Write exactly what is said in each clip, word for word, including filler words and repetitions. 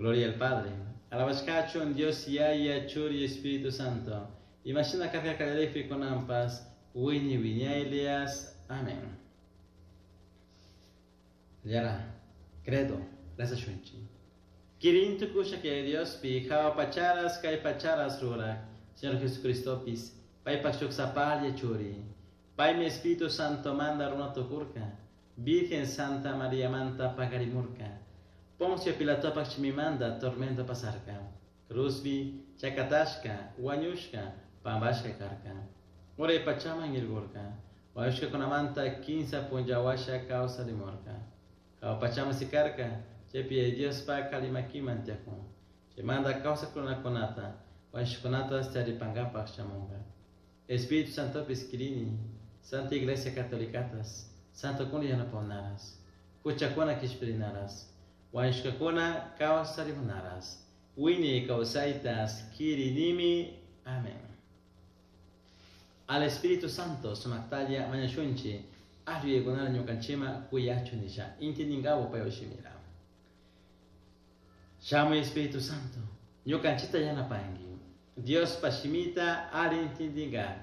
Gloria al Padre. Alabashkachun Dios Yaya, Churi, Espíritu Santo. Imashina karka kallarikpi kunanpas, wiñay wiñaylias. Amén. Yara, credo, rezashunchik. Kirin tukusha que Dios pi jahua pacharas kay pacharas rurak, Señor Jesucristopis, paypak shuk sapalla churi. Paymi Espíritu Santo manda runa tukurka, Virgen Santa María manta pakarimurka. Poncio Pilatopak shimimanda tormento pasarka. Cruzbi, chakatashka, wañushka, pampashka karka. Uray pachaman irgurka. Wañushkakunamanta kinsa punlla washa kawsarimurka. Jahua pachaman sikarka, chaypi Diospak alli makiman tiyakun. Chaymanta kawsak runakunata, wañushkakunata taripankapak shamunka. Espíritu Santopis kirini, Santa Iglesia Catolicatas, Santokuna yanapawnaras, huchakuna kishpirinaras, wañushkakuna kawsarimunaras, wiñay kawsaytas kirinimi. Amén. Al Espíritu Santo sumaktalla mañashunchik, alli yuyaykunata ñukanchikman kuyachun nisha, intindinkapak paypak shimira. Shamuy Espíritu Santo, ñukanchikta yanapanki, Diospa shimita alli intindingak,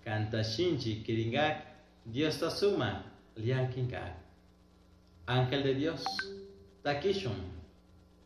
kanta shinchi kiringak, Diosta sumak llakinkak. Ángel de Dios, takishun.